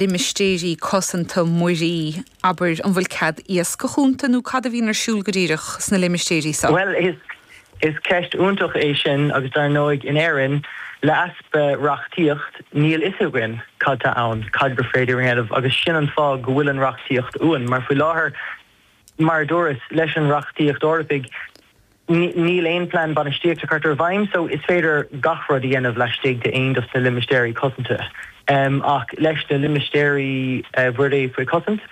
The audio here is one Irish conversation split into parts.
Limistéirí cosanta muirí, abair, an bhfuil cead iascach iontu nó cad a bhíonn ar siúl go díreach sna limistéirí seo? Bhuel, is is ceist iontach é sin agus dar ndóigh in Éirinn, le easpa reachtaíocht, níl fhios againn cad tá ann, cad gur féidir a dhéanamh agus sin an fáth go bhfuil an reachtaíocht uainn mar faoi láthair, mar a dúras, leis an reachtaíocht Eorpaigh, Níl aon plean bainistíochta curtha i bhfeidhm so is féidir gach rud a dhéanamh laistigh de aon dos na limistéirí cosanta. Ach leis na limistéirí mhuirí faoi chosaint,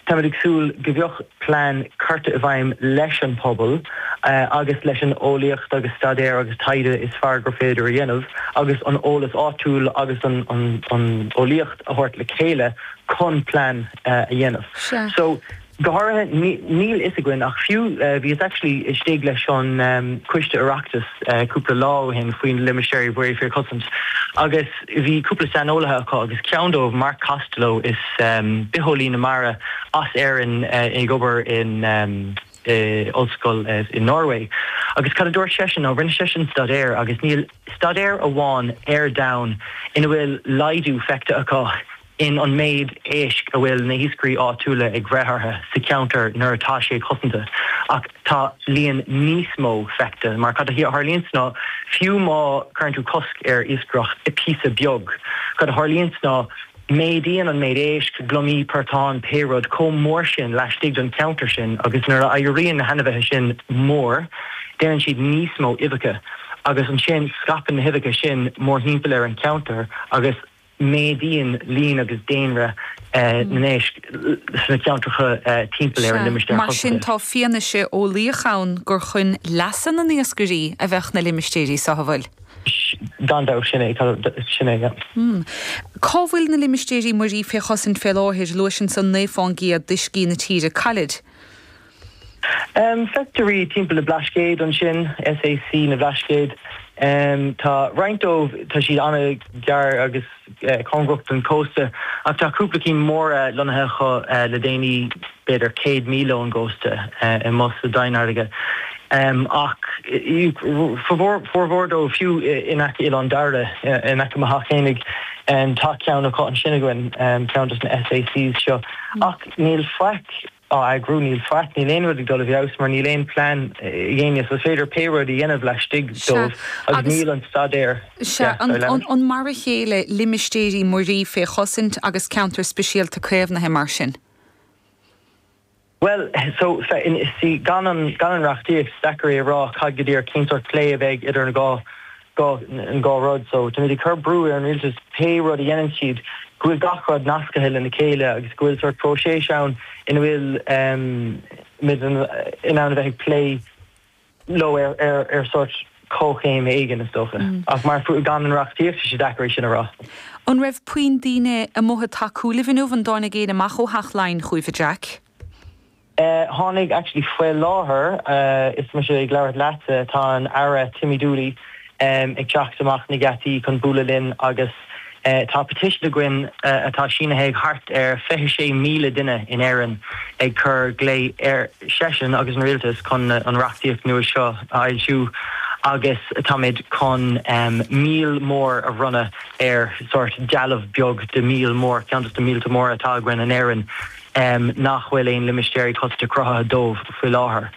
táimid ag súil go bheadh plean curtha i bhfeidhm leis an pobal agus leis an eolaíocht agus staidéar agus taighde is fearr gur féidir a dhéanamh agus an eolas áitiúil agus an eolaíocht a thabhairt le chéile chun plean a dhéanamh. So. Go háirithe, níl fhios againn ach fiú, bhíos actually istigh leis an Coiste Oireachtais cúpla lá ó shin faoi na limistéirí mhuirí faoi chosaint agus bhí cúpla saineolaithe acu agus ceann dóibh, Mark Costello, is bitheolaí na mara as Éirinn ag obair in ollscoil i Norway agus cad a dúirt seisean ná rinne seisean staidéar agus níl staidéar amháin ar domhan ina bhfuil laghdú feicthe acu in an méid éisc a bhfuil na hiascairí áitiúla ag bhreith orthu sa cheantar nuair atá sé cosanta. Ach tá líon níos mó feicthe, mar cad a tharlaíonns ná, fiú má cuireann tú cosc ar iascaireacht i píosa beag, cad a tharlaíonns ná méadaíonn an méid éisc, gliomaí, portáin, pé rud, chomh mór sin laistigh den cheantar sin agus nuair a éiríonn na hainmhithe sin mór, déanann siad níos mó uibheacha agus ansin scaipeann na huibheacha sin mórthimpeall ar an cheantar agus. méadaíonn líon agus daonra na n-éisc sna ceantracha timpeall ar an Sea, limistéar mar sin cosanta. tá fianaise eolaíoch ann gur chun leasa na n-iascairí a bheadh na limistéirí seo, an bhfuil? Gan dabht, sin é, sin é, yeah. Cá bhfuil na limistéirí muirí fé chosaint fé láthair? Luais ansan 9 fán gcéad d'uiscí na tíre. Cá bhfuilid? Feictear iad timpeall na Blascaod ansin, SAC na Blascaod. Tá roinnt dóibh, tá siad an-ghar agus cóngarach don chósta, ach tá cúpla cinn móra lonnaithe acu le déanaí, b'fhéidir 100 míle ón gcósta, amuigh sa domhainfharraige. Ach formhór dóibh, fiú in aice Oileán Dairbhre, in aice mo theach fhéinig, tá ceann acu ansin againn, ceann dos na SACs seo. Ach níl faic. á eagrú. Níl faic, níl aon rud ag dul i bhfeabhas mar níl aon plean ag éinne so is féidir pé rud a dhéanamh laistigh dóibh agus níl an staidéar, Sea, an mar a chéile limistéirí muirí fé chosaint agus ceantair speisialta caomhnaithe mar sin? Bhuel, so, see, gan an, gan an reachtaíocht, is deacair é a rá cad go díreach, cén sórt plé a bheidh idir an dhá an dhá rud. So, táimid ag cur brú ar an rialtas pé rud a dhéanann siad, go bhfuil gach rud nascaithe lena chéile agus go bhfuil sórt próiseas ann ina bhfuil muid in ann a bheith ag plé leo ar ar ar sórt comhchéim éigin, is dócha. Ach mar gan an reachtaíocht, tá sé deacair é sin a rá. An raibh puinn daoine amuigh ag tacú libh inniu? An dtáinig éinne amach ó Theach Laighean chugaibh, a Jack? Tháinig, actually faoi láthair is mise ag labhairt leatsa, tá an Aire Timmy Dooley ag teacht amach na geataí chun bualadh linn agus tá petition againn atá sínithe ag thart ar 26,000 duine in Éirinn ag cur glao ar seisean agus an rialtas chun an reachtaíocht nua seo a fhoilsiú agus táimid chun míol mór a bhronnadh ar sórt dealbh beag de mhíol mór, ceann dos na míolta móra atá againn in Éirinn. nach bhfuil aon limistéirí cosanta cruthaithe dóibh faoi láthair.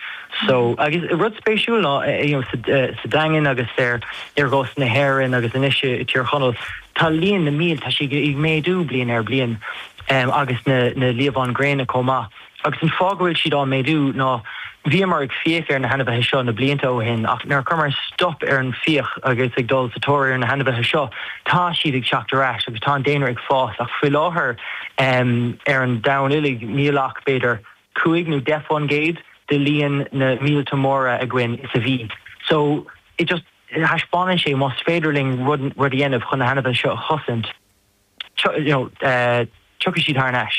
So, agus rud spéisiúil ná, you know, sa Daingean agus ar ar chósta na hÉireann agus anois i Tír Chonaill, tá líon na míol, tá sé ag méadú bliain ar bliain, agus na na liamháin gréine chomh maith. Agus an fáth go bhfuil siad á méadú ná bhíomar ag fiach ar na hainmhithe seo na blianta ó shin ach nuair a chuireamar stop ar an fiach agus ag dul sa tóir ar na hainmhithe seo, tá siad ag teacht ar ais agus tá an daonra ag fás ach faoi láthair ar an domhan uilig níl ach b'fhéidir 5 nó 10% de líon na míolta móra againn is a bhí. So it just thaispeánann sé más féidir linn rud rud a dhéanamh chun na hainmhithe seo a chosaint, you know, tiocfaidh siad thar n-ais.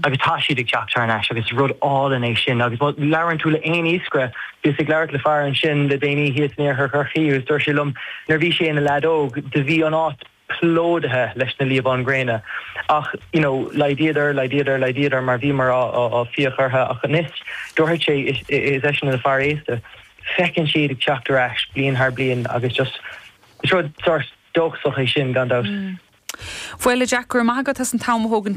Agus tá siad ag teacht thar n-ais agus is rud álainn é sin. Agus má labhrann tú le aon iascaire, bhíos ag labhairt le fear ansin le déanaí thíos in iarthar Chorcaí agus dúirt sé liom nuair a bhí sé ina leaid óg do bhí an áit plódaithe leis na liamháin ghréine ach you know laghdaíodar, laghdaíodar, laghdaíodar mar bhíomar á á fiach orthu ach anois dúirt sé is is eisean ina fear aosta feiceann siad ag teacht ar ais bliain thar bliain agus just is rud sórt dóchasach é sin gan dabht. Bhuel, a Jack, go raibh maith agat as an t-am a thógaint.